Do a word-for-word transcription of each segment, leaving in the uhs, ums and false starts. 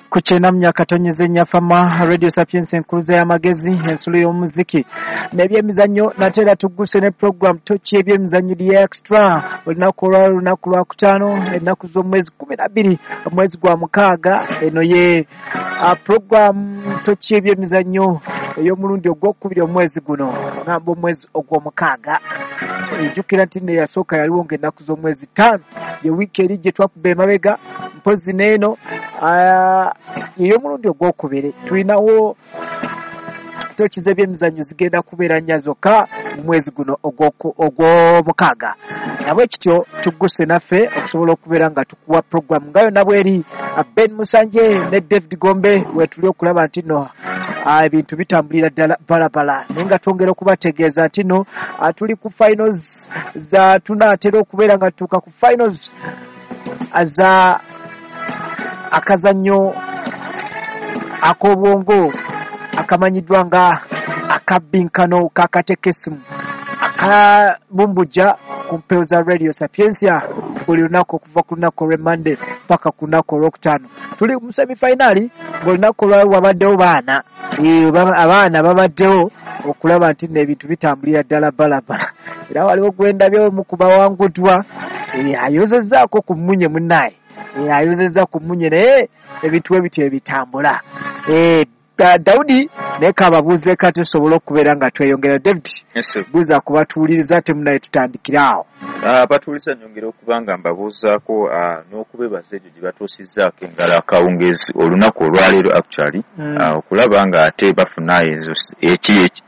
Ku kyenda akatonyeze Nyafama Radio Sapiens, enkuluza y'amagezi, ensulo y'omuziki n'ebyemizannyo. Nate era tugguse ne program Toki Ebyemizannyo The Extra. Olunaku olwalo lunaku lwakutaano, ennaku z'omwezi kumi na bbiri omwezi gwa mukaaga. Eno ye program Toki Ebyemizannyo ey'omulundi ogwokubiri omwezi guno, ngamba omwezi ogw'omukaaga. Ejjukira nti nno eyasooka yaliwo ng'ennaku z'omwezi ttaano, ye wiiki eri gye twakuba emabega. Mpozi n'eno ey'omulundi ogwokubiri tulinawo toki z'ebyemizannyo zigenda kubeera nnya zokka mu mwezi guno ogw'omukaaga. Nabwe kityo tugguse naffe okusobola okubeera nga tukuwa program nga yonna bweri. Ben Musanje ne David Gombe wetuli okulaba nti nno ebintu bitambulira ddala balabala, naye nga twongera okubategeeza nti nno tuli ku finals za, tunaatera okubeera nga tutuuka ku finals za akazannyo ak'obwongo akamanyiddwa nga akabbinkano k'akatekesimu akabumbujja ku mpewo za Radio Sapientia buli lunaku okuva ku lunaku olw'Emande paka ku lunaku olwokutaano. Tuli mu semifinali, ng'olunaku olwali wabaddewo baana, abaana babaddewo okulaba nti nno ebintu bitambulira ddala balabala. Era waliwo gwendabyewo mu kubawanguddwa, ayozezzaako ku mmunye munnaye, ayozezza ku mmunye, naye ebintu we bityo ebitambula. Daudi naye kababuuzeeko ate tusobole okubeera nga tweyongera. David, buuza kubatuwuliriza ate munaye tutandikire awo. Abatuwuliriza nyongera okuba nga mbabuuzaako n'okubeebaza egyo gye batuusizzaako engalo akawungeezi olunaku olwaleero actually, okulaba nga ate bafuna ezo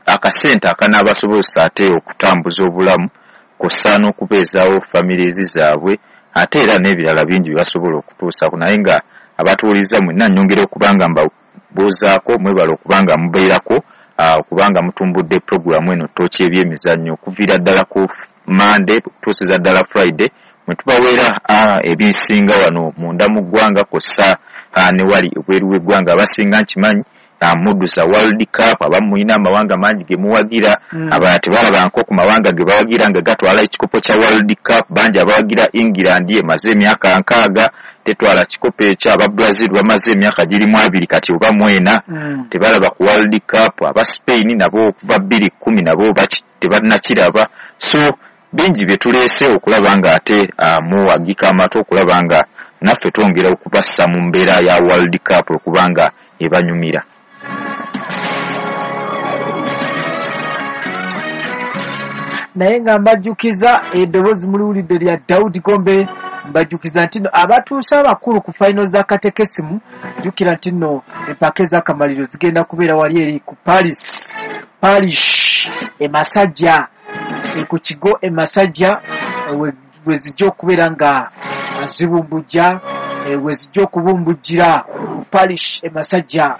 akasente akanaabasobozesa ate okutambuza obulamu kw'ossa n'okubeezaawo families zaabwe, ate era n'ebirala bingi bye basobola okutuusaako. Naye nga abatuwuliriza mwenna nnyongera okuba nga mbabuuzaako, mwebale okuba nga mubeerako, okubanga mutumbudde puroguramu eno Toki Ebyemizannyo okuviira ddala ku Monday okutuusiza ddala Friday, mwe tubaweera ebisinga wano munda mu ggwanga kw'ossa ne wali ebweru w'eggwanga. Abasinga nkimanyi muddusa World Cup, abamu mulina amawanga mangi ge muwagira, abalala tebalabangako ku mawanga ge bawagira nga gatwala ekikopo kya World Cup. Bangi abawagira England emaze emyaka nkaaga tetwala kikopo ekyo, aba Brazil bamaze emyaka girimu abiri kati oba mwena tebalaba ku World Cup, aba Spain nabo okuva bbiri kkumi nabo tebannakiraba. So bingi bye tuleese okulaba nga ate muwagika amatu okulaba nga naffe twongera okubassa mu mbeera ya World Cup okuba nga ebanyumira. Naye nga mbajjukiza eddoboozi muliwulidde lya Daudi Gombe, mbajjukiza nti nno abatuuse abakulu ku final za katekesimu, jjukira nti nno empaka ez'akamaliro zigenda kubeera wali eri ku Paris Parish e Masajja, ku kigo e Masajja we zijja okubeera nga zibumbujja, we zijja okubumbujjira ku Parish e Masajja.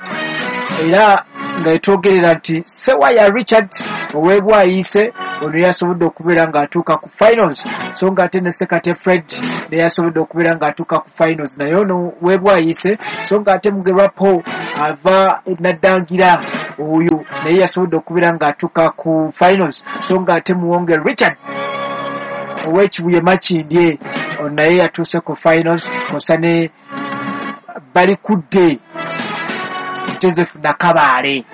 Era nga etwogerera nti Sewaya Richard ow'Ebwayiise ono yasobodde okubeera ng'atuuka ku finals, so nga ate ne Sekate Fred naye yasobodde okubeera ng'atuuka ku finals, naye ono w'Ebwayiise. So nga ate Mugerwa Paul ava Naddangira oyo naye yasobodde okubeera ng'atuuka ku finals, so nga ate Muwonge Richard ow'Ekibuye Makindye ono naye yatuuse ku finals, kw'ossa ne Balikudde Joseph Nakabaale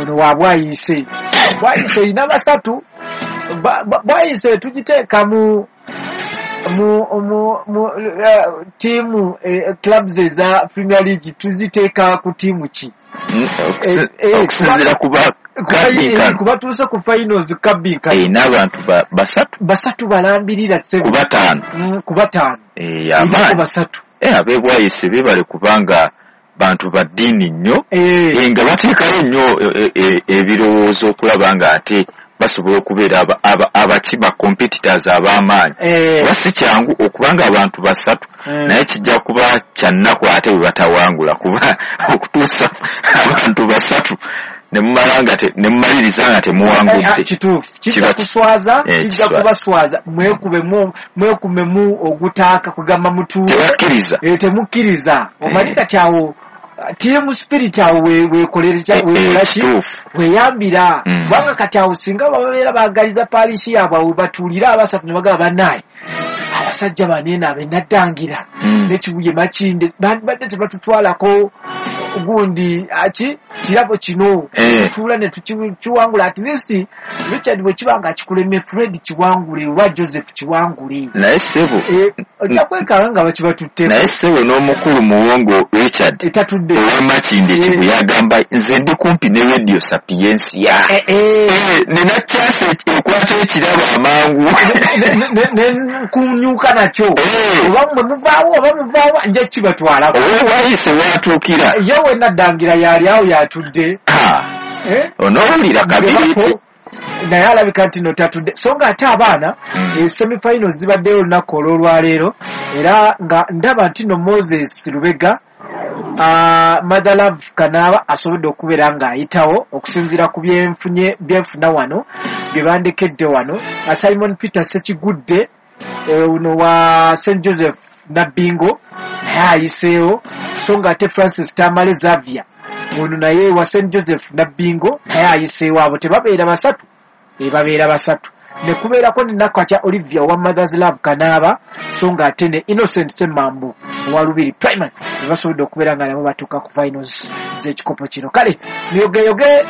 ono wa Bwayiise. Bwayiise erina basatu. Bwayiise tugiteeka mu mu mu mu ttiimu, clubs eza Premier League tuziteeka ku ttiimu ki? Okusinziira ku kubatuuse ku finals kabbinkano n'abantu basatu basatu balambirira ku bataano, ku bataano amaanyi basatu. Ab'Ebwayiise beebale kubanga bantu ba ddiini nnyo, nga bateekayo nnyo ebirowoozo okulaba nga ate basobola okubeera abaki ba competitors ab'amaanyi. Kuba si kyangu okubanga abantu basatu, naye kijja kuba kya nnaku ate bwe batawangula, kuba okutuusa abantu basatu ne mumaliriza nga temuwangudde. Kituufu, kijja kuswaza, kijja kubaswaza. Mwekubemu mwekumemu ogutaaka kugamba mutuule, tebakkiriza, temukkiriza. Omanyi kati awo team spirit awo weekolera ki, weeyambira. Kubanga kati awo singa babeera baagaliza parish yaabwe awo batuulire abasatu ne bagamba bannaye Abasajja banene abenaddangira n'ekibuye Makinde badde tebatutwalako gundi aki kirabo kino tuula ne tukiwangula. At least Richard bwe kiba nga kikulemye, Fred kiwangule oba Joseph kiwangule. Naye ssebo ojja kwekanga nga bakibatutteko. Naye ssebo n'omukulu Muwongo Richard etatudde owa Makinde Kibuye agamba nze ndi kumpi ne Radio Sapientia, nina chance ekwata ekirabo amangu nkunyuka nakyo, oba mmwe muvaawo oba muvaawo nja kibatwalako. Oba wayise watuukira ye wenaddangira yali awo yatudde onoowulira kabiriiti naye alabika nti no tatudde. So nga ate abaana semifinals zibaddeyo olunaku olw'olwaleero, era nga ndaba nti no Moses Lubega Mother Love Kanaaba asobodde okubeera ng'ayitawo okusinziira ku byenfunye byenfuna wano bye bandekedde wano. Simon Peter Sekigudde ono wa Saint Joseph Nabbingo naye ayiseewo, so nga ate Francis Tamale Xavier ono naye wa Saint Joseph Nabbingo naye ayiseewo. Abo tebabeera basatu, babeera basatu. Ne kubeerako ne Nakatya Olivia owa Mothers Love Kanaaba, so nga ate ne Innocent Ssemambo owa Lubiri Primary basobodde okubeera nga nabo batuuka ku finals z'ekikopo kino. Kale muyogeyoge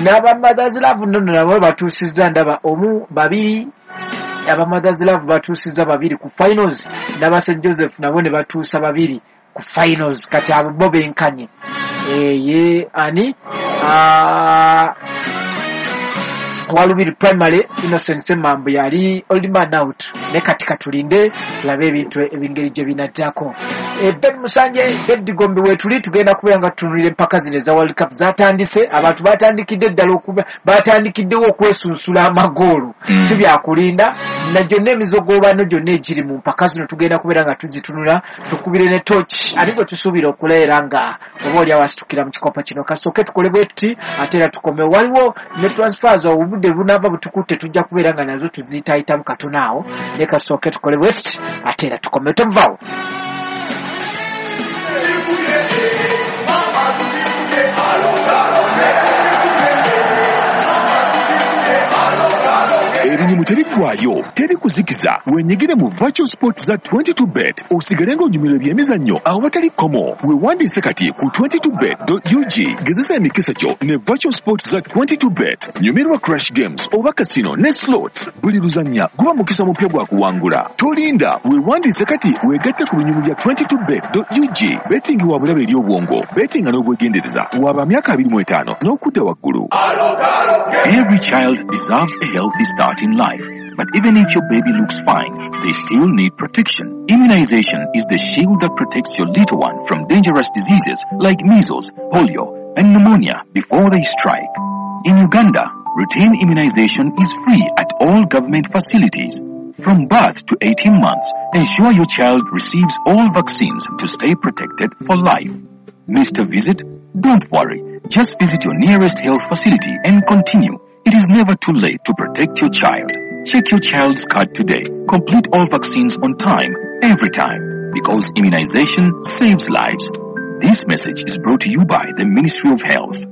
n'aba Mothers Love nno nabo batuusizza, ndaba omu babiri aba Mothers Love batuusizza babiri ku finals, n'aba Saint Joseph nabo ne batuusa babiri ku finals. Kati abo bo benkanye ye ani Walubiri Primary Innocent Ssemambo yali old man out, ne kati katulinde tulabe ebintu ebingeri gye binaddako. Ben Musanje, David Gombe wetuli tugenda kubeera nga tutunulira empaka zino eza World Cup zatandise. Abantu batandikidde ddala okuba batandikiddewo okwesunsula amagoolo, si byakulinda na gyonna emizogobano gyonna egiri mu mpaka zino tugenda kubeera nga tuzitunula, tukubire ne torch ate gwe tusuubira okuleera nga oba oli awasitukira mu kikopo kino. Kasooke tukole bwe tuti ate era tukome. Waliwo ne transfers obudde bunaaba butukutte tujja kubeera nga nazo tuziyitaayitamu katono awo, naye kasooke tukole bwe tuti ate era tukome. Tomuvaawo. Ebinyumu tebiggwayo, teri kuzikiza. Wenyigire mu virtual sports za twenty-two bet osigale ng'onyumirwa ebyemizannyo awatali kkomo. Weewandiise kati ku twenty-two bet dot U G. Gezesa emikisa gyo ne virtual sports za twenty-two bet. Nyumirwa crash games oba casino ne slots. Buli luzannya guba mukisa mupya gwa kuwangula. Tolinda, weewandiise kati weegatte ku binyumu bya twenty-two bet dot U G. Betting wa bulabe eri obwongo, bettinga n'obwegendereza. Waba myaka abiri mu etaano n'okudda waggulu. Every child deserves a healthy start in life. But even if your baby looks fine, they still need protection. Immunization is the shield that protects your little one from dangerous diseases like measles, polio, and pneumonia before they strike. In Uganda, routine immunization is free at all government facilities. From birth to eighteen months, ensure your child receives all vaccines to stay protected for life. Missed a visit? Don't worry. Just visit your nearest health facility and continue. It is never too late to protect your child. Check your child's card today. Complete all vaccines on time, every time, because immunization saves lives. This message is brought to you by the Ministry of Health.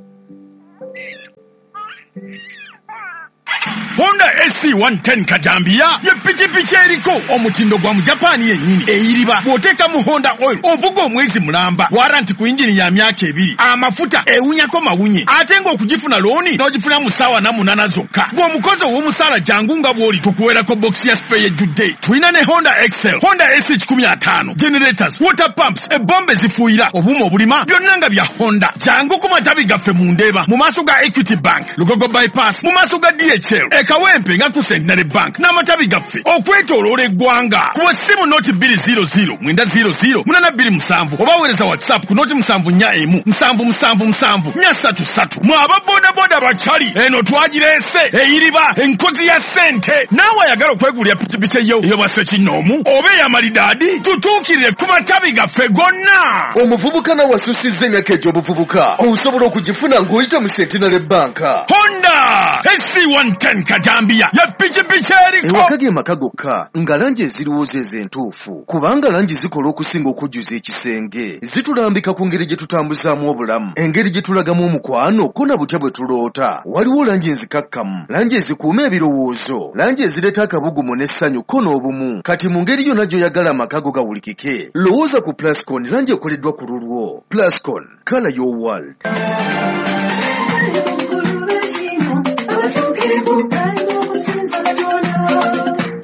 Honda S C one ten Kajambia ye pikipiki eriko omutindo gwa mu Japan yennyini eyiriba bw'oteeka mu Honda oil ovuga omwezi mulamba, waranti ku injini ya myaka ebiri, amafuta ewunyako mawunye, ate ng'okugifuna looni n'ogifuna mu ssaawa na munaana zokka. Gw'omukozi ow'omusaala jangu nga bw'oli tukuweerako bokisi ya spare ejjudde. Tulina ne Honda Excel, Honda S C kikumi ataano, generators, water pumps, ebombe zifuuyira, obuuma obulima byonna nga bya Honda. Jangu ku matabi gaffe mu Ndeeba, mu maaso ga Equity Bank, Lugogo Bypass, mu maaso ga D H L, Ekawempe nga ku Centenary Bank n'amatabi gaffe okwetooloola eggwanga. Kuba essimu noti bbiri zero zero mwenda zero zero munaana bbiri musanvu oba weereza WhatsApp ku noti musanvu nnya emu musanvu musanvu musanvu nnya ssatu ssatu. Mwe aba bodaboda bakyali eno twagireese eyiriba enkozi ya ssente. Naawe ayagala okwegulira pikipiki eyo ey'obwa ssekinnoomu oba ey'amalidaadi, tutuukirire ku matabi gaffe gonna. Omuvubuka nawe asussizza emyaka egy'obuvubuka osobola okugifuna ng'oyita mu Centenary Bank. Honda S C one ten Kajambiya ye pikipiki eriko. Ewaka ge maka gokka nga langi ezirowooza ezo entuufu, kubanga langi zikola okusinga okujjuza ekisenge. Zitulambika ku ngeri gye tutambuzaamu obulamu, engeri gye tulagamu omukwano, ko na butya bwe tuloota. Waliwo langi enzikakkamu, langi ezikuuma ebirowoozo, langi ezireeta akabugumu n'essanyu ko n'obumu. Kati mu ngeri yonna gy'oyagala amaka go gawulikike, lowooza ku Plascon, langi ekoleddwa ku lulwo. Plascon, color your world.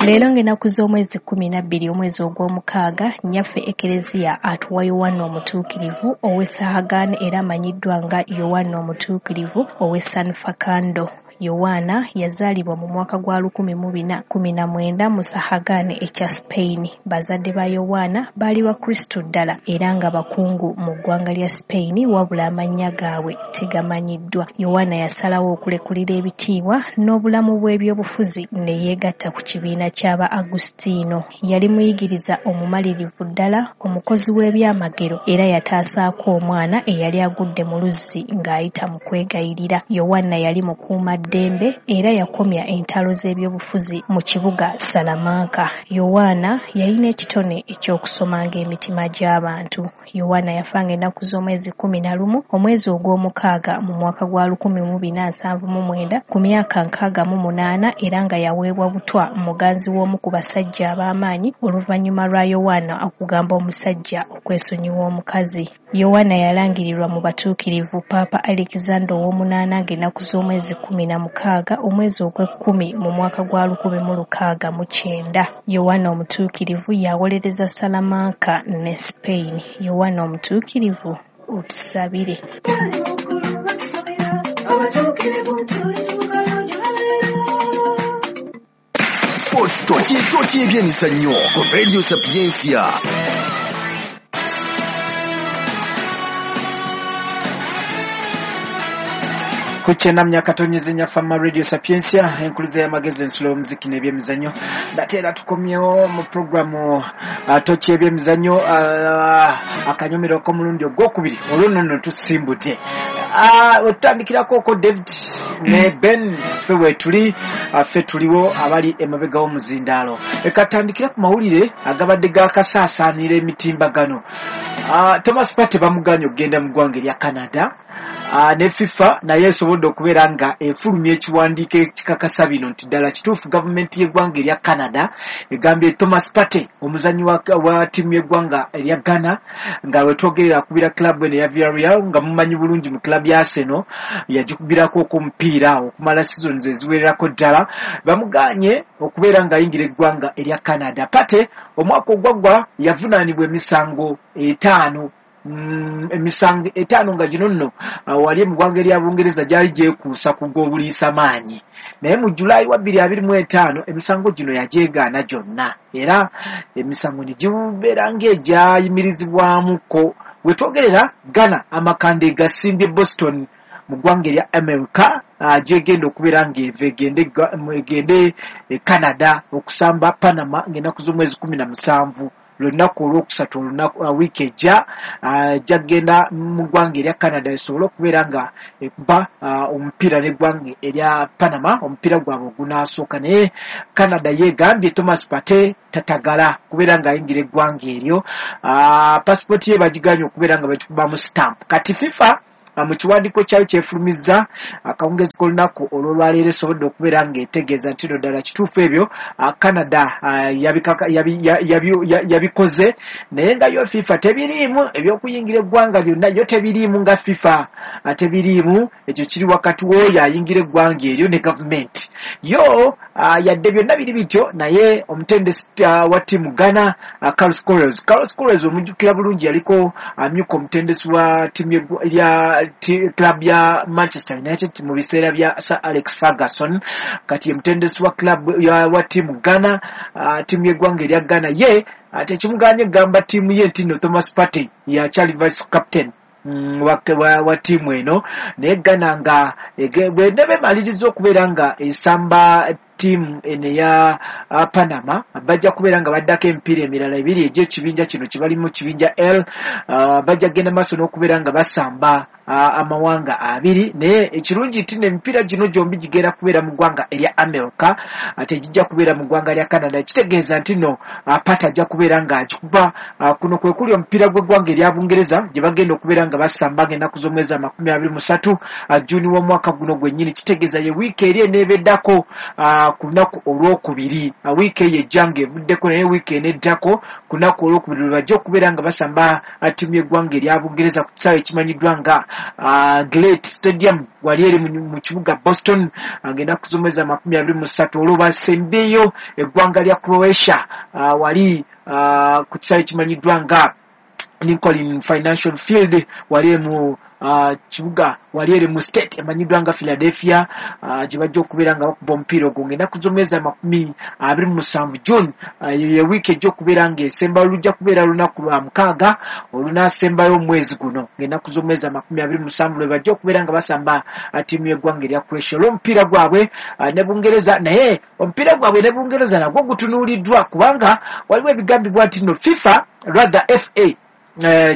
Leero ng'ennaku z'omwezi kkumi na bbiri omwezi ogw'omukaaga, nnyaffe Ekereziya atuwa Yowanna Omutuukirivu ow'e Sahagani, era amanyiddwa nga Yowanna Omutuukirivu ow'e San Facundo. Yowaana yazaalibwa mu mwaka gwa lukumi mu bina kkumi na mwenda mu Sahagani ekya Spain. Bazadde ba Yowaana baali Bakristu ddala era nga bakungu mu ggwanga lya Spain, wabula amannya gaabwe tegamanyiddwa. Yowaana yasalawo okulekulira ebitiibwa n'obulamu bw'ebyobufuzi ne yeegatta ku kibiina ky'aba Agustino. Yali muyigiriza omumalirivu ddala, omukozi w'ebyamagero, era yataasaako omwana eyali agudde mu luzzi ng'ayita mu kwegayirira. Yowaana yali mukuuma ddembe era yakomya entalo z'ebyobufuzi mu kibuga Salamanca. Yowaana yalina ekitone eky'okusomanga emitima gy'abantu. Yowaana yafanga ennaku z'omwezi kkumi na lumu omwezi ogw'omukaaga mu mwaka gwa lukumi mu bina nsanvu mu mwenda ku myaka nkaaga mu munaana, era nga yaweebwa butwa muganzi w'omu ku basajja ab'amaanyi oluvannyuma lwa Yowaana okugamba omusajja okwesonyiwa omukazi. Yowaana yalangirirwa mu batuukirivu Paapa Alexander ow'omunaana ng'ennaku z'omwezi kkumi na mukaaga omwezi ogw'ekkumi mu mwaka gwa lukumi mu lukaaga mu kyenda. Yowaana Omutuukirivu yawolereza Salamanca ne Spain. Yowaana Omutuukirivu, otusabire. Sports Tochi, Tochi ebyemizannyo ku Radio Sapientia. Kuchenamya katonyeze nyafama Radio Sapientia, enkuluza y'amagezi, ensulo y'omuziki n'ebyemizannyo. Nate era tukomyewo mu programu uh, Tochi ebyemizannyo, uh, akanyomero k'omulundi ogwokubiri olwo nno tusimbudde. Uh, otutandikirako ko David ne Ben, ffe weetuli, uh, ffe tuliwo abali emabega w'omuzindaalo. Ekatandikira ku mawulire agabadde gakasaasaanira emitimbagano. Uh, Thomas Partey bamuganye okugenda mu ggwanga erya Canada. Uh, ne FIFA naye esobodde okubeera nga efulumya ekiwandiiko ekikakasa bino nti ddala kituufu gavumenti y'eggwanga erya Canada egambye Thomas Partey, omuzannyi wa, wa ttiimu y'eggwanga erya Ghana, nga wetwogerera akubira club eno eya Villarreal, nga mumanyi bulungi mu club ya Arsenal, yagikubirako omupiira okumala seasons eziwererako ddala, bamuganye okubeera ng'ayingira eggwanga erya Canada. Partey omwaka ogwaggwa yavunaanibwa emisango etaano, Mm, emisango etaano nga gino nno uh, wali mu ggwanga erya Bungereza gyali gyekuusa ku gw'obuliisa maanyi, naye mu Julaayi wa bbiri abiri mu etaano emisango gino yagyegaana gyonna, era emisango ne gibeera ng'egyayimirizibwamuko. Wetwogerera Ghana amakanda egasimbye Boston mu ggwanga erya America, uh, gyegenda okubeera ng'eva egende egende e Canada okusamba Panama ng'ennaku z'omwezi kumi na musanvu, lunaku olwokusatu, olunaku uh, wiiki ejja, gyagenda uh, mu ggwanga erya Canada esobole okubeera nga ekuba uh, omupiira n'eggwanga erya Panama, omupiira gwabwe ogunaasooka. Naye Canada yeegambye Thomas Partey tatagala kubeera ng'ayingira eggwanga eryo, uh, pasipooti ye bagiganye okubeera nga bagikubamu stamp. Kati FIFA mu kiwandiiko kyayo kyefulumizza akawungezi k'olunaku olw'olwaleero esobodde okubeera ng'etegeeza nti no ddala kituufu ebyo Canada yabikoze, naye nga yo FIFA tebiriimu eby'okuyingira eggwanga lyonna, yo tebiriimu nga FIFA tebiriimu, ekyo kiri wakati w'oyo ayingira eggwanga eryo ne gavumenti yo. Yadde byonna biri bityo, naye omutendesi wa ttiimu Ghana, Carlos Queiroz, Carlos Queiroz omujjukira bulungi, yaliko amyuka omutendesi wa ttiimu ya club ya Manchester United mu biseera bya Sir Alex Ferguson. Kati ye mutendesi wa club ya wa ttiimu Ghana, ttiimu y'eggwanga erya Ghana, ye tekimuganye gamba ttiimu ye nti no Thomas Partey yakyali vice captain mm, wa, wa, wa ttiimu eno, naye Ghana nga bwene bemaliriza okubeera nga esamba ttiimu eno eya Panama, bajja kubeera nga baddako emipiira emirala ebiri egy'ekibinja kino kibalimu kibinja L, uh, bajja kugenda maaso n'okubeera nga basamba amawanga abiri. Naye ekirungi nti emipiira gino gyombi gigenda kubeera mu ggwanga erya America, ate gijja kubeera mu ggwanga lya Canada. Kitegeeza nti nno Partey ajja kubeera ng'agikuba. Kuno kwe kuli omupiira gw'eggwanga erya Bungereza gye bagenda okubeera nga basamba ng'ennaku z'omwezi amakumi abiri mu ssatu Juni w'omwaka guno gwennyini. Kitegeeza ye wiiki eri eneebeddako ku lunaku olwokubiri, wiiki eyo ejja ng'evuddeko, naye wiiki eneddako ku lunaku olwokubiri lwe bajja okubeera nga basamba ttiimu y'eggwanga erya Bungereza ku kisaawe ekimanyiddwa nga Gillette Stadium wali eri mu kibuga Boston ng'ennaku z'omwezi amakumi abiri mu ssatu. Olwo basembeyo eggwanga lya Croatia wali ku kisaawe ekimanyiddwa nga Lincoln Financial Field wali mu kibuga wali eri mu state emanyiddwa nga Philadelphia, gye bajja okubeera nga bakuba omupiira ogwo ng'ennaku z'omwezi amakumi abiri mu musanvu June. Ye wiiki ejja okubeera ng'esembayo, lujja kubeera lunaku lwa mukaaga olunaasembayo omwezi guno ng'ennaku z'omwezi amakumi abiri mu musanvu lwe bajja okubeera nga basamba ttiimu y'eggwanga erya Croatia. Olw'omupiira gwabwe ne Bungereza, naye omupiira gwabwe ne Bungereza nagwo gutunuuliddwa kubanga waliwo ebigambibwa nti no FIFA rather F A,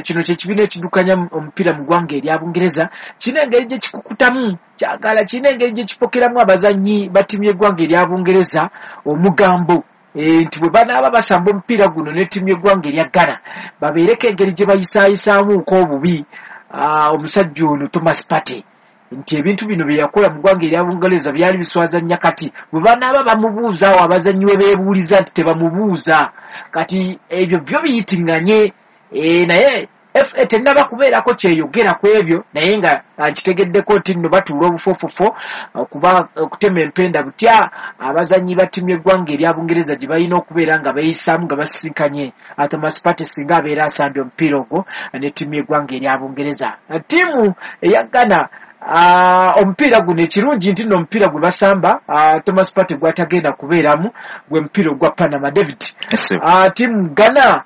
kino kye kibiina ekiddukanya omupiira mu ggwanga erya Bungereza, kirina engeri gye kikukutamu kyagala, kirina engeri gye kipokeramu abazannyi ba ttiimu y'eggwanga erya Bungereza omugambo nti bwe banaaba basamba omupiira guno ne ttiimu y'eggwanga erya Ghana babeereko engeri gye bayisaayisaamuko obubi omusajja ono Thomas Partey, nti ebintu bino bye yakola mu ggwanga erya Bungereza byali biswaza nnyo. Kati bwe banaaba bamubuuza awo abazannyi we beebuuliza nti tebamubuuza, kati ebyo byo biyitiŋŋanye. E, naye F A tennaba kubeerako kyeyogera ku ebyo, naye nga kitegeddeko nti nno batuula obufoofofo okuba okutema empenda butya abazannyi ba ttiimu y'eggwanga erya Bungereza gye balina okubeera nga beeyisaamu nga basisinkanye Thomas Partey singa abeera asambye omupiira ogwo ne ttiimu y'eggwanga erya Bungereza. Ttiimu eya Ghana omupiira guno ekirungi nti nno omupiira gwe basamba Thomas Partey gw'atagenda kubeeramu gwe mupiira ogwa Panama. David, ttiimu Ghana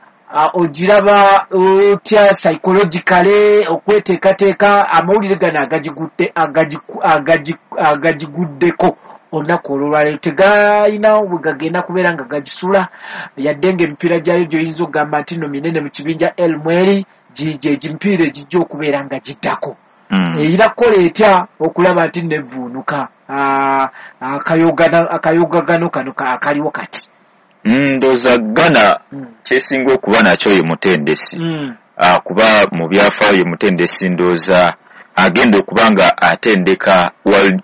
ogiraba otya psychologically okweteekateeka amawulire gano agagigudde agagiguddeko olunaku olwolwaleero tegayina bwe gagenda kubeera nga gagisula, yadde ng'emipiira gyayo gy'oyinza okugamba nti nno minene mu kibinja L mweri gye gimipiira egijja okubeera nga giddako. Erina kukola etya okulaba nti nevvuunuka akayogagano kano akaliwo kati? Ndowooza Ghana kyesinga okuba nakyo ye mutendesi, kuba mu byafaayo ye mutendesi ndowooza agenda okuba nga atendeka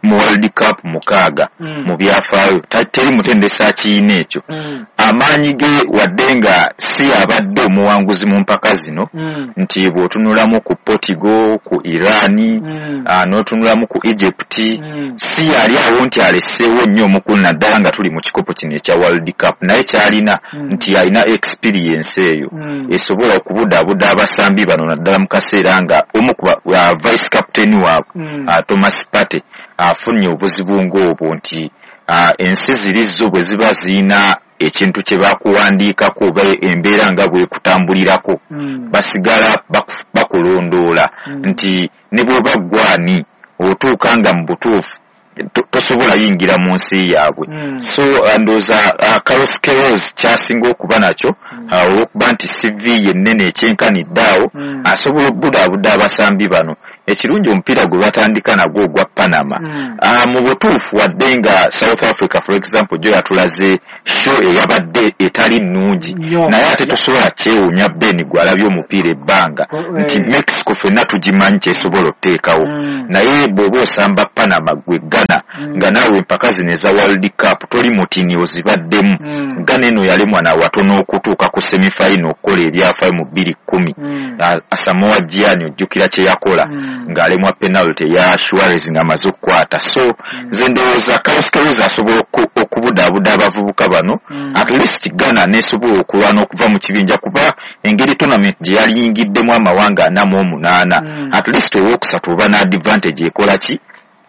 mu World Cup mukaaga mu byafaayo, teri mutendesi akiyina ekyo. Amaanyi ge wadde nga si abadde omuwanguzi mu mpaka zino, nti bw'otunulamu ku Portugal, ku Iran, n'otunulamu ku Egypt, si yali awo nti aleseewo nnyo omukulu naddala nga tuli mu kikopo kino ekya World Cup, naye kyalina nti alina experience eyo esobola okubudaabuda abasambi bano naddala mu kaseera nga omu ku vice captain waabwe Thomas Partey afunye obuzibu ng'obwo nti ensi ziri zo bwe ziba ziyina ekintu kye bakuwandiikako oba embeera nga bwekutambulirako basigala bakulondoola nti ne bw'oba ggwani otuuka nga mu butuufu tosobola yingira mu nsi yaabwe. So ndowooza Carlos Queiroz kyasinga okuba nakyo olw'okuba nti C V ye nnene ekyenkanidde awo, asobola okubudaabuda abasambi bano. Ekirungi omupiira gwe batandika nagwo ogwa Panama, mu butuufu wadde nga South Africa for example gyo yatulaze show eyabadde etali nnungi, naye ate tosobola kyewuunya Ben gw'alabye omupiira ebbanga nti Mexico ffenna tugimanyi kyesobola okuteekawo, naye bw'oba osamba Panama gwe Ghana nga naawe empaka zino eza World Cup toli mutini ozibaddemu. Ghana eno yalemwa nawatono okutuuka ku semifinal okukola ebyafaayo mu bbiri kkumi, Asamoah Gyan ojjukira kye yakola ng'alemwa penalty ya Suarez ng'amaze okukwata. So nze ndowooza Carlos Queiroz asobola okubudaabuda abavubuka bano, at least Ghana n'esobola okulwana okuva mu kibinja, kuba engeri tournament gye yaliyingiddemu amawanga ana mu omunaana, at least owookusatu oba n'advantage ekola ki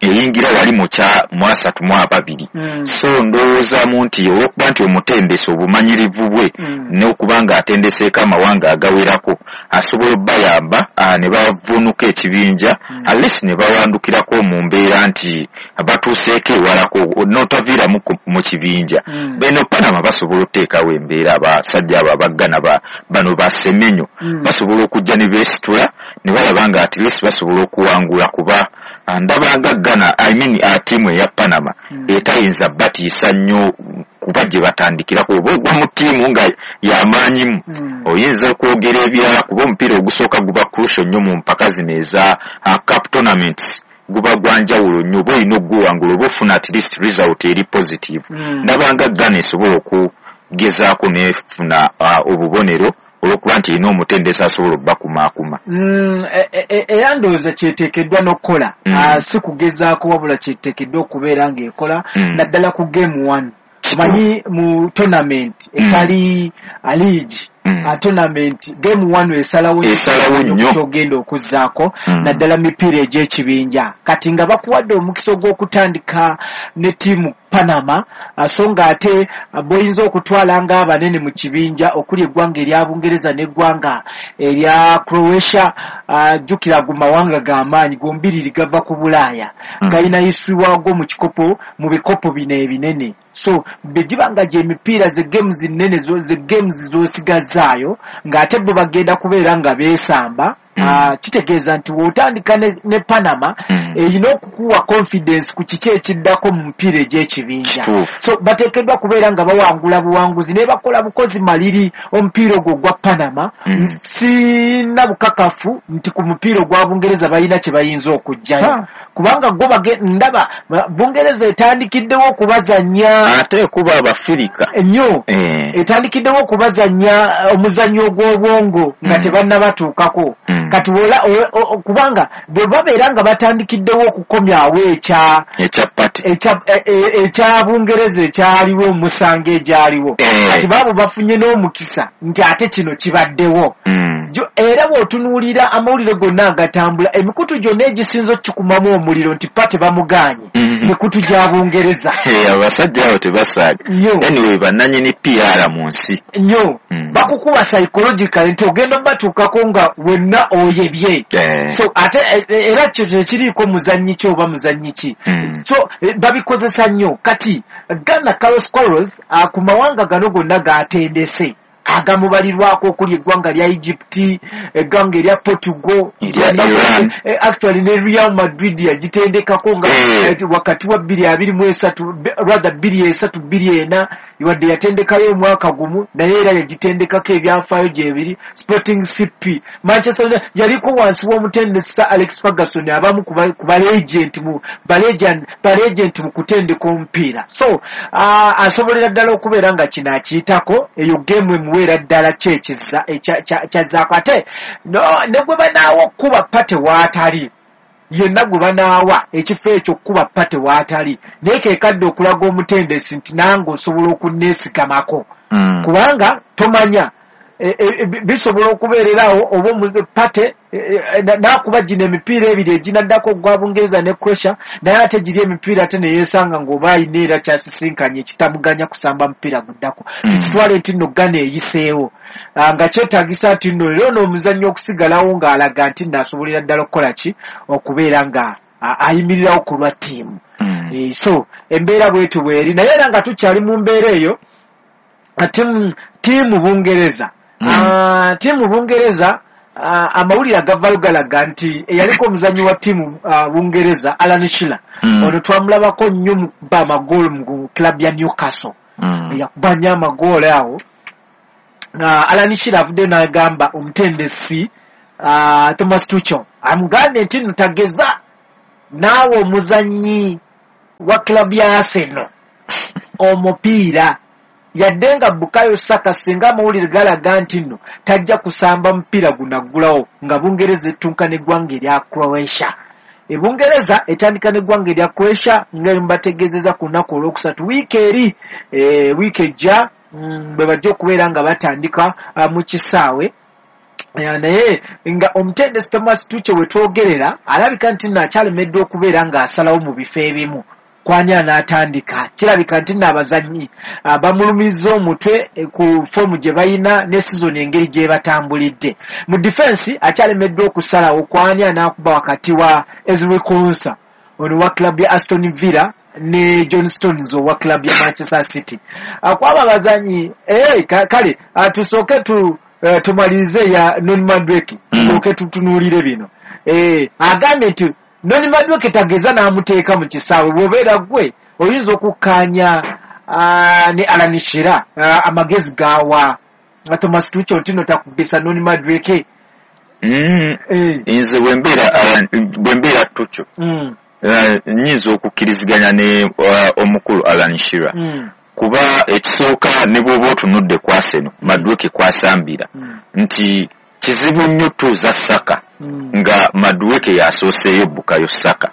eyingira wali mu kya mu asatu mu ababiri. So ndowoozaamu nti olw'okuba nti omutendesi obumanyirivu bwe n'okuba nga atendeseeko amawanga agawerako asobola obbayamba uh, ne bavunuka ekibinja Mm. at least ne bawandukirako mu mbeera nti batuuseeko ewalako n'otaviiramu ku- mu kibinja. Mm. Beno Panama basobola okuteekawo embeera, abasajja abo abaggana ba, bano basemenyo Mm. basobola okujja ne beesitula ne balaba nga at least basobola okuwangula, kuba ah, ndabanga Ghana, I mean, uh, ttiimu eya Panama Mm. etayinza batiisa nnyo, kuba gye batandikirako oba ogwa mu ttiimu nga y'amaanyimu Mm. oyinza okwogera ebirala, kuba omupiira ogusooka guba crucial nnyo mu mpaka zino eza uh, cup tournaments, guba gwa njawulo nnyo, oba olina okuguwangula oba ofuna at least result eri positive. Mm. Ndabanga Ghana esobola okugezaako nefuna uh, obubonero olw'okuba nti erina omutendesi asobola obbakumaakuma. Mm, e- e- e- era ndowooza kyeteekeddwa n'okukola. Mm. Ah, si kugezaako wabula kyeteekeddwa okubeera ng'ekola, Mm. naddala ku game one. Omanyi mu tournament Mm. etali a league, Mm. a tournament game one esalawo Esalawo nnyo. kyogenda okuzzaako, Mm. naddala mipiira egy'ekibinja. Kati nga bakuwadde omukisa ogw'okutandika ne ttiimu Panama, ah, so ng'ate ah, bw'oyinza okutwala ng'abanene mu kibinja okuli eggwanga erya Bungereza n'eggwanga erya Croatia, ah, jjukira ago mawanga g'amaanyi gombiriri gava ku Bulaaya, Mm. galina history waago mu kikopo, mu bikopo bino ebinene. So bwe giba nga gy'emipiira ze games nnene zo- ze games z'osigazaayo ng'ate bo bagenda kubeera nga beesamba, Mm. ah, kitegeeza nti bw'otandika ne, ne Panama Mm. erina okukuwa confidence ku kiki ekiddako mu mupiira egy'ekibinja. Kituufu. So bateekeddwa kubeera nga bawangula buwanguzi naye bakola bukozi maliri omupiira ogwo ogwa Panama. Mm. Sina bukakafu nti ku mupiira ogwa Bungereza balina kye bayinza okuggyayo, Ha. kubanga gwo bage- ndaba ba- Bungereza etandikiddewo okubazannya ate kuba Abafirika ennyo, Eh. etandikiddewo okubazannya eh, omuzannyo ogw'obwongo nga Mm. tebannabatuukako. Mm. Kati wola o- o- o- kubanga bwe babeera nga batandikiddewo okukomyawo ekya ekya Partey ekya e- e- ekya Bungereza ekyaliwo omusango egyaliwo, Eh. kati baabo bafunye n'omukisa nti ate kino kibaddewo. Mm. Jo- era bw'otunuulira amawulire gonna agatambula, emikutu gyonna egisinza okukikumamu omuliro nti Partey bamugaanye, Mm. mikutu gya Bungereza. Eh, abasajja abo tebasaaga. Nnyo. Anyway, bannanyini P R mu nsi. Nnyo. Mm. Bakukuba psychological nti ogenda batuukako nga wenna oyebye. Eh. So ate e- e- era kyo tekiriiko muzannyi ki oba muzannyi ki. Mm. So eh, babikozesa nnyo. Kati Ghana, Carlos Queiroz, ah, ku mawanga gano gonna gatendese agamubalirwako okuli eggwanga lya Egypt, eggwanga erya Portugal, Erya Gonna- Iran. eh, actually ne Real Madrid yagitendekako nga Eh. eh, wakati wa bbiri abiri mu esatu, be- rather bbiri esatu bbiri ena, wadde yatendekayo omwaka gumu naye era yagitendekako ebyafaayo gyebiri. Sporting C P, Manchester United yaliko wansi w'omutendesi Sir Alex Ferguson, abamu ku ba- ku balegend mu balegend balegend mu kutendeka omupiira. So uh, asobolera ddala okubeera nga kino akiyitako, eyo game emuweera ddala kyekiza kyazzaako. Ate no, ne gwe banaawa okukuba Partey waatali yenna, gwe banaawa ekifo ekyo okukuba Partey waatali, naye kekadde okulaga omutendesi nti nange osobola okunneesigamako, Mm. kubanga tomanya e, e, e, bisobola okubeererawo oba omu- Partey e, e, na- n'akuba gino emipiira ebiri eginaddako ogwa Bungereza ne Croatia, naye ate giri emipiira ate neyeesanga ng'oba ayina era kyasisinkanye ekitamuganya kusamba mupiira guddako. Mm. Tukitwale nti nno Ghana eyiseewo. Ah, nga kyetaagisa nti nno era ono omuzannyo okusigalawo ng'alaga nti nno asobolera ddala okukola ki, okubeera nga a- ayimirirawo ku lwa ttiimu. Mm. Eh, so embeera bwetu bweri, naye era nga tukyali mu mbeera eyo, ah, ttiimu ttiimu Bungereza, Mm. Ah, ttiimu Bungereza, ah, amawulire agavayo galaga nti eyaliko omuzannyi wa ttiimu ah, Bungereza Alan Shearer, Mm. ono twamulabako nnyo mu kuba amagoolo mu club ya Newcastle, Mm. yakuba nnyo amagoolo awo. Ah, Alan Shearer avuddeyo n'agamba omutendesi ah, Thomas Tuchel, amugambye nti nno tageza naawe omuzannyi wa club ya Arsenal omupiira, yadde nga Bukayo Saka singa amawulire galaga nti nno tajja kusamba mupiira gunaggulawo nga Bungereza ettunka n'eggwanga erya Croatia. E Bungereza etandika n'eggwanga erya Croatia nga mbategeezeza ku lunaku olwokusatu wiiki eri, e, wiiki ejja, mm, bwe bajja okubeera nga batandika ah, mu kisaawe. Eh, naye nga omutendesi Thomas Tuchel we twogerera alabika nti nno akyalemeddwa okubeera ng'asalawo mu bifo ebimu. Kwani anaatandika. Kirabika nti nno abazannyi bamulumiza omutwe ku foomu gye balina ne sizoni engeri gye batambulidde. Mu defense akyalemeddwa okusalawo kwani anaakuba wakati wa Ezri Konsa ono wa club ya Aston Villa ne John Stones owa club ya Manchester City. Akwaba abazannyi eh kale tusooke tu tumalirize ya Noni Madueke, tusooke tutunuulire bino. Eh agambye nti Noni Madueke tageza n'amuteeka mu kisaawe, bw'obeera ggwe oyinza okukkaanya ne Alan Shearer amagezi gawa Thomas Tuchel nti no takubisa Noni Madueke. Nze bwe mbeera Tuchel nnyinza okukkiriziganya ne omukulu Alan Shearer, kuba ekisooka ne bw'oba otunudde ku Arsenal Madueke kwasambira nti kizibu nnyo tuuza Saka nga Madueke yasooseeyo Bukayo Saka,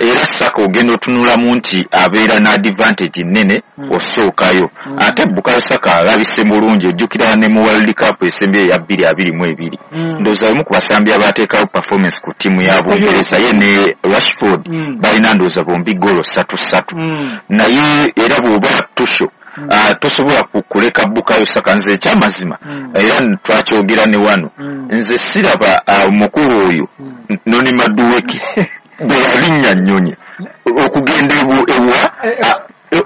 era Saka ogenda otunulamu nti abeera n'advantage nnene osookayo, ate Bukayo Saka alabise bulungi, ojjukira ne mu World Cup esembye eya bbiri abiri mu ebiri ndowooza omu ku basambi abateekawo performance ku ttiimu ya Bungereza ye ne Rashford balina ndowooza bombi ggoolo ssatu ssatu, naye era bw'oba Tuchel tosobola kuleka Bukayo Saka. Nze ekyamazima era twakyogera ne wano, nze siraba omukulu oyo Noni Madueke bwe yalinnya nnyonyi okugenda ewa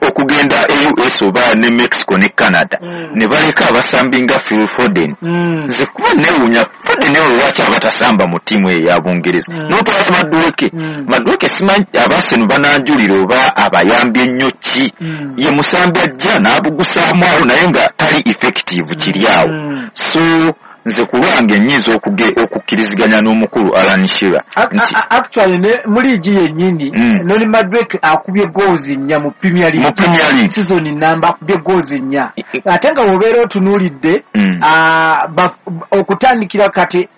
okugenda e U S oba ne Mexico ne Canada ne baleka abasambi nga Phil Foden. Nze kuba neewuunya Foden oyo lwaki abatasamba mu ttiimu eyo ya Bungereza n'otwala Madueke. Madueke simanyi Abarseno bananjulira oba abayambye nnyo ki, ye musambi ajja n'abugusaamu awo naye nga tali effective kiri awo. So nze ku lwange nnyinza okukkiriziganya n'omukulu Alan Shearer nti actually ne mu liigi yennyini Noni Madueke akubye goals nnya mu Premier League, mu Premier League season namba akubye goals nnya, ate nga bw'obeera otunuulidde okutandikira kati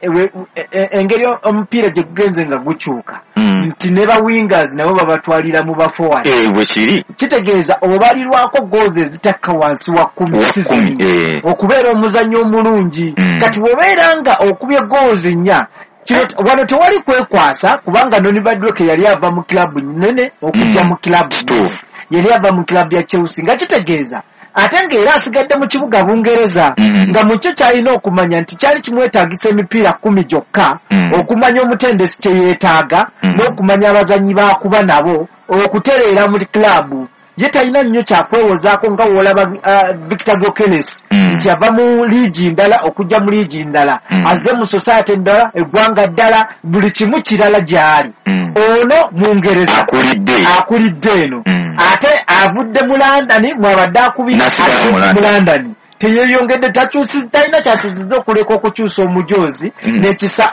engeri omupiira gye gugenze nga gukyuka nti ne ba wingers nabo babatwalira mu ba forward, bwe kiri kitegeeza obalirwako goals ezitakka wansi wa kkumi season okubeera omuzannyo omulungi. Kati bw'obeera nga okubye goals nnya, wano tewali kwekwasa kubanga Noni Madueke yali ava mu club nnene okujja mu club yali ava mu club ya Chelsea, nga kitegeeza ate ng'era asigadde mu kibuga Bungereza, nga mu kyo kyalina okumanya nti kyali kimwetaagisa emipiira kkumi gyokka okumanya omutendesi kye yeetaaga n'okumanya abazannyi baakuba nabo okutereera mu club. Ye talina nnyo kyakwewozaako nga w'olaba Victor Gyokeres nti ava mu liigi ndala okujja mu liigi ndala, azze mu society endala, eggwanga ddala, buli kimu kirala gy'ali. Ono Mungereza akulidde eno, ate avudde mu London mwabadde akubira mu London, teyeyongedde, talina kyakyusiza okuleka okukyusa omujoozi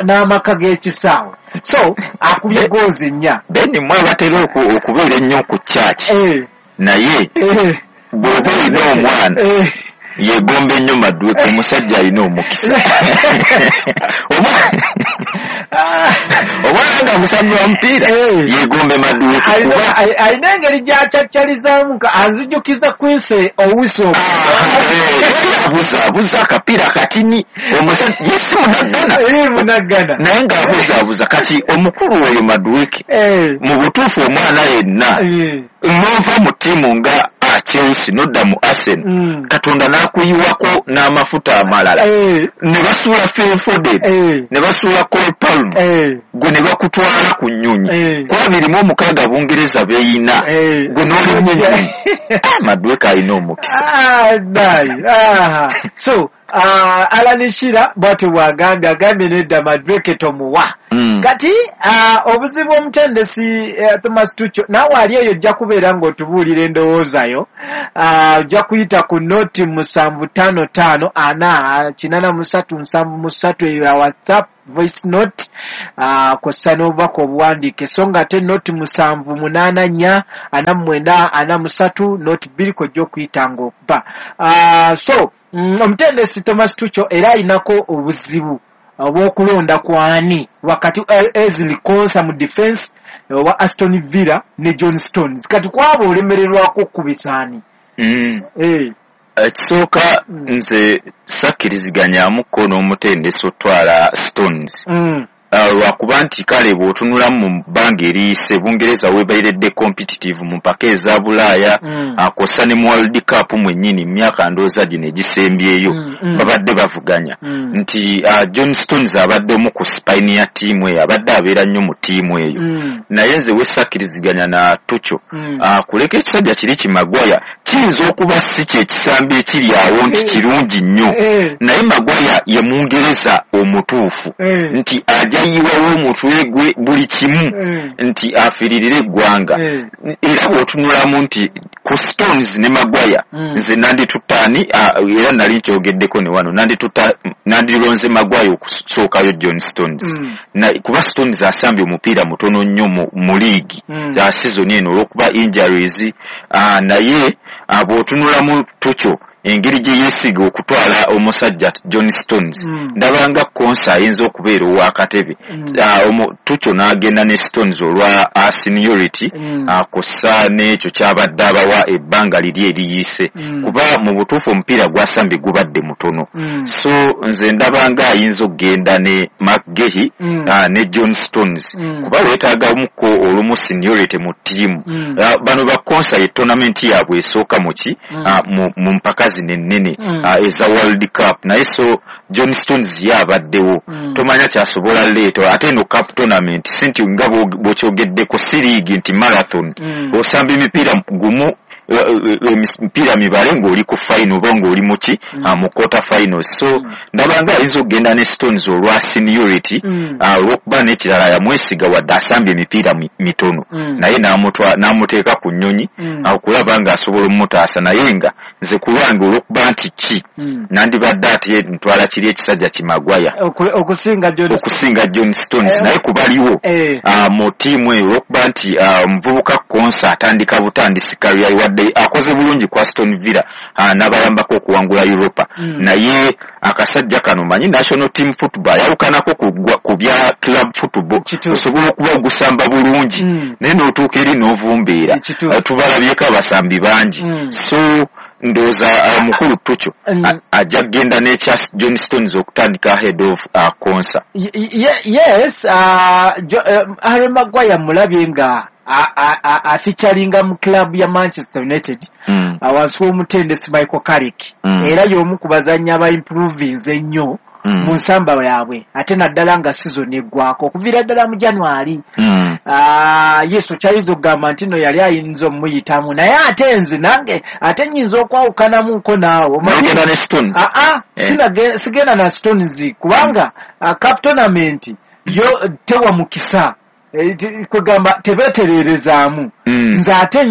n'amaka g'ekisaawe. So akubye goozi nnya. Then mwe batera okubeera ennyo ku church, naye bw'oba olina omwana yegomba ennyo Madueke, omusajja alina omukisa. Omwana nga musambi wa mupiira yegombe Madueke, alina engeri gy'akyacalizaamu anzijukiza Quincy Owusu, abuzaabuza akapiira katini, omusajja ye si munaggana naye ng'abuzaabuza. Kati omukulu oyo Madueke mu butuufu omwana yenna n'ova mu ttiimu nga Chelsea n'odda mu Arsenal, Katonda n'akuyiwako n'amafuta amalala, ne basuula Phil Foden, ne basuula Cole Palmer, gwe ne bakutwala ku nnyonyi ku abiri mu omukaaga Bungereza beeyina, gwe n'olinnya ennyonyi. Madueke alina omukisa. So Alan Shearer bw'atyo bw'agambye, agambye nedda Madueke tomuwa. Kati obuzibu omutendesi Thomas Tuchel, naawe ali eyo ojja kubeera ng'otubuulira endowoozayo, ojja kuyita ku noti musanvu ttaano ttaano ana kinaana mu ssatu nsanvu mu ssatu eyo ya WhatsApp voice note kw'ossa n'obubaka obuwandiike, so nga ate noti musanvu munaana nnya ana mu mwenda ana mu ssatu noti bbiri kw'ojja okuyita ng'okuba. So omutendesi Thomas Tuchel era alinako obuzibu obw'okulonda kwani wakati Ezri Konsa mu defense owa Aston Villa ne John Stones. Kati kwabo olemererwako okubisaani. Ekisooka nze sakkiriziganyaamuko n'omutendesi otwala Stones, Lwakuba nti kale bw'otunulamu mu bbanga eriyise, Bungereza weebairedde competitive mu mpaka eza Bulaaya, akosa ne mu World Cup mwennyini mu myaka ndowooza gino egisembyeyo babadde bavuganya. Nti John Stones abadde omu ku spine ya ttiimu eyo, abadde abeera nnyo mu ttiimu eyo. Naye nze wesakkiriziganya na Tuchel, kuleka ekisajja kiri ki Maguire kiyinza okuba si kye kisambi ekiri awo nti kirungi nnyo, naye Maguire ye Mungereza omutuufu nti ajja yiwawo omutwe gwe buli kimu nti afiiririre eggwanga. Era bw'otunulamu nti ku Stones ne Maguire, nze nanditutaani, era nali nkyogeddeko ne wano, nandironze Maguire okusookayo John Stones, kuba Stones asambye omupiira mutono nnyo mu liigi ya season eno olw'okuba injuries. Naye bw'otunulamu Tuchel engeri gye yeesiga okutwala omusajja John Stones, ndabanga Konsa ayinza okubeera ow'akatebe. Tuchel n'agenda ne Stones olwa seniority akosa n'ekyo kyabadde abawa ebbanga liri eriyise, kuba mu butuufu omupiira gwasambye gubadde mutono. So nze ndabanga ayinza okugenda ne McGahey ne John Stones, kuba weetaagamuko olumu seniority mu ttiimu. Bano ba Konsa ye tournament yaabwe esooka muki mu mpaka zino ennene eza World Cup, naye so John Stones ye abaddewo, tomanya kyasobola leeta. Ate eno cup tournament si nti nga bw'okyogeddeko si liigi nti marathon, osamba emipiira gumu, emipiira mibale ng'oli ku final oba ng'oli muki mu quarter finals. So ndabanga ayinza okugenda ne Stones olwa seniority, olw'okuba n'ekirala yamwesiga wadde asambye emipiira mitono, naye n'amuteeka ku nnyonyi okulaba ng'asobola omutaasa. Naye nga nze ku lwange olw'okuba nti ki nandibadde ate ntwala kiri ekisajja ki Maguire okusinga John Stones, naye kubaliwo mu ttiimu eyo olw'okuba nti omuvubuka Konsa atandika butandisi career, wadde akoze bulungi ku Aston Villa n'abayambako okuwangula Europa, naye akasajja kano manyi national team football yawukanako ku bya club football, osobola okuba ogusamba bulungi naye n'otuuka eri n'ovumbeera. Tubalabyeko abasambi bangi. So ndowooza mukulu Tuchel ajja kugenda n'ekya John Stones okutandika ahead of Konsa. Yes, Harry Maguire mulabye nga afeaturinga mu club ya Manchester United awansi w'omutendesi Michael Carrick, era y'omu ku bazannyi aba improvinze ennyo mu nsamba yaabwe, ate naddala nga season eggwako okuviira ddala mu January. Yes, okyayinza okugamba nti no yali ayinza omuyitamu, naye ate nze nange ate nnyinza okwawukanamuko naawe. Sigenda na Stones kubanga cup tournament yo tewa mukisa, kwegamba tebeetererezaamu. Nze ate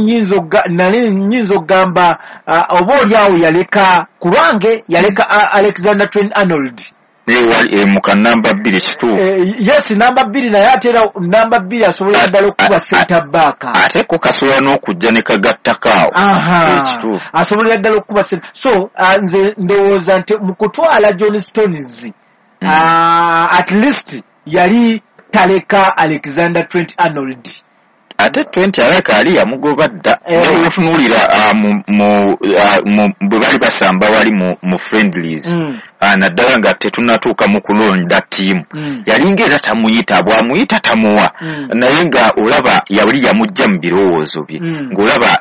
nali nnyinza okugamba oba oli awo yaleka, kulwange yaleka Alexander Trent Arnold mu kanamba bbiri kituufu. Yes, namba bbiri, naye ate era namba bbiri asobola ddala okuba center back, ate ko kasobola n'okujja ne kagattako awo ekituufu, asobolera ddala okuba. So nze ndowooza nti mu kutwala John Stones at least yali taleka Alexander Trent Arnold. Ate Trent aleka ali yamugoba dda. Naye otunuulira bwe bali basamba wali mu friendlies, naddala nga tetunnatuuka mu kulonda ttiimu, yalinga era tamuyita, bw'amuyita tamuwa, naye nga olaba yali yamujja mu birowoozo bye, ng'olaba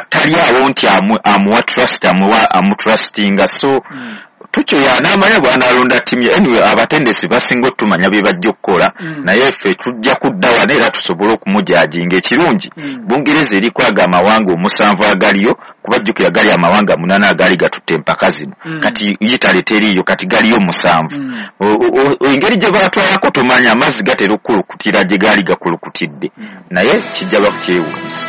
tali awo nti amuwa trust, amutrustinga. So Tuchel y'anaamanya bw'anaalonda ttiimu ye. Anyway, abatendesi basinga otumanya bye bajja okukola, naye ffe tujja kudda wano era tusobole okumujajinga. Ekirungi Bungereza eriko ago amawanga omusanvu agaliyo, kubajjukira gali amawanga munaana agaali gatutte empaka zino, kati Italy teriiyo, kati galiyo musanvu. Engeri gye batwalako tomanya, amazzi gatera okukulukutira gye gaali gakulukutidde, naye kijja bakukyewuunyisa.